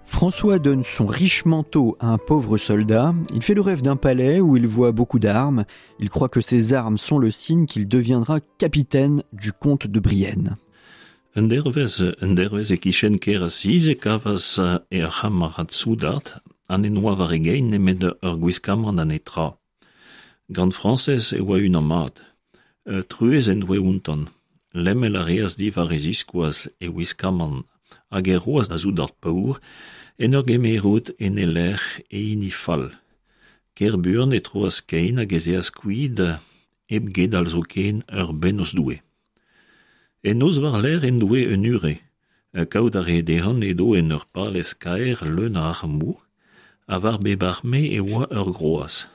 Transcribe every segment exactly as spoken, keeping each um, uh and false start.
François donne son riche manteau à un pauvre soldat. Il fait le rêve d'un palais où il voit beaucoup d'armes. Il croit que ces armes sont le signe qu'il deviendra capitaine du comte de Brienne. Un dervez, un dervez e kichen ker asiz e kavas e ur c'hamarad soudard an en oa war e gein nemet ur gwiskamant an etra. Gant Frañsez e oa unan mat. Truez en doe ountan. Lemmel a reas diwar e ziskoaz e wiskamant hag e roas da soudard paour en ur gemerout en e lec'h e hini fall. Ker buan e troas kein hag ez eas kuit hep gedal zoken ur bennozh Doue. En noz war-lerc'h en doe un ure, kaout a re dezhan edo en ur palez kaer leun a armoù, ha war bep arme e oa ur groaz.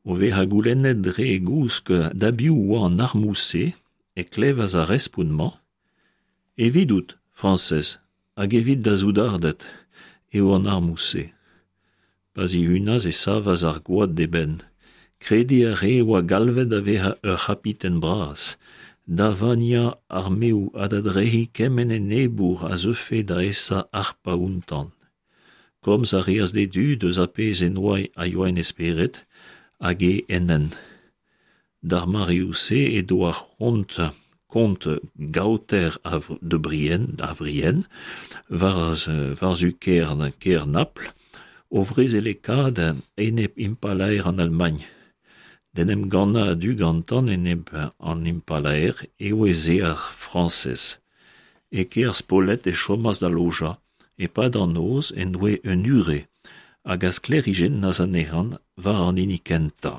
O vezañ goulennet dre e gousk da biv oa an armoù-se e klevas ar respont-mañ: Evidout, Frañsez, hag evit da soudarded eo an armoù-se. Pa zihunas e savas ar gwad d'e benn. Krediñ a rae e oa galvet da vezañ ur c'hapiten bras, da vaniañ armeoù ha da drec'hiñ kement enebour a zeufe da esa harpañ outañ. Komz a reas d'e dud eus ar pezh en doa a yoa en e spered hag e en hent. D'ar mareoù-se edo ar c'hont kont Gaoter de Brienne, a Vrienne, war, war-zu kêr, kêr Napl, o vrezelekaat enep impalaer an Almagn. D'en em gannañ a-du gantan enep an impalaer eo ez eo ar Frañsez. E kêr Spolet e chomas da lojañ, e-pad an noz en doe un ure, hag a sklêrijennas anezhan war an hini kentañ.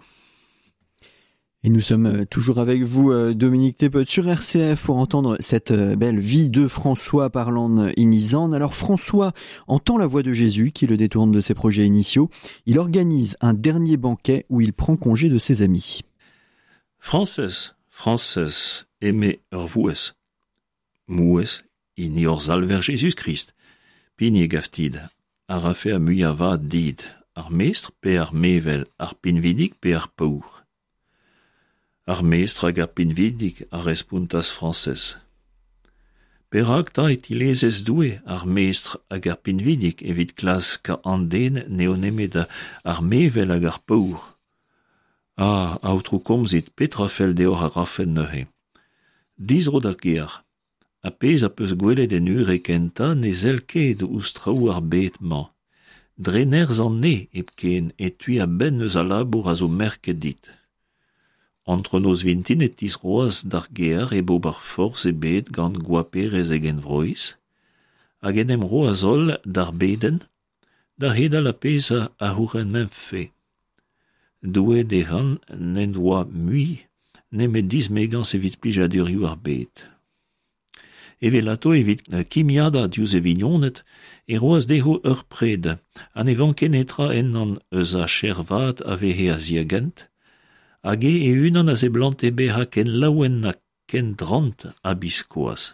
Et nous sommes toujours avec vous, Dominique Thépaut, sur R C F pour entendre cette belle vie de François par Lan Inizan. Alors François entend la voix de Jésus qui le détourne de ses projets initiaux. Il organise un dernier banquet où il prend congé de ses amis. Frañsez, Frañsez, eme ur vouez. Mouez, hini hor Salver Jezuz-Krist. Pini e gaftid, a rafe a muiañ vat dit, ar mestr pe ar mevel, ar pinvidik pe ar paour. Ar mestr hag ar pinvidik a respontas Frañsez. Perak ta e tilezez Doue ar mestr hag ar pinvidik evit klask an den n'eo nemet ar mevel hag ar paour. Ah, aotrou komzit, petra fell deoc'h a rafen neuze. Dizro d'ar gêr. A pezh a peus gwelet en ure kentañ ne sell ket ouzh traoù ar bed-mañ. Dre nerzh an ne hepken e tui a-benn eus al labour a zo merket dit. Antronoz vintin e tisroas d'ar gêr e bob ar forzh ebet gant goaperez e genvroiz, hag en em roas holl d'ar bedenn, da hedal a pezh a c'hourenmenfe. Doue dezhan n'en doa mui nemet dismegañs evit plijadurioù ar bed. Evelato evit kimiadañ diouzh e vignoned e roas dezho ur pred, ha ne vanke netra ennan eus ar chervat a veze a-ziagent, hag e e-unan a seblante bezañ ken laouen ha ken drant ha biskoazh.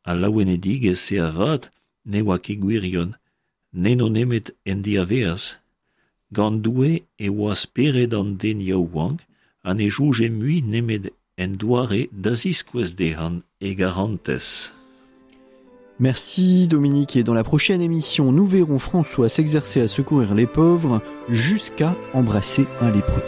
Al laouenedigezh-se avat ne oa ket gwirion, n'eno nemet en diaveaz. Gant Doue e oa spered an den yaouank ha ne soñje mui nemet en doare da ziskouez dezhan e garantez. Merci Dominique, et dans la prochaine émission, nous verrons François s'exercer à secourir les pauvres jusqu'à embrasser un lépreux.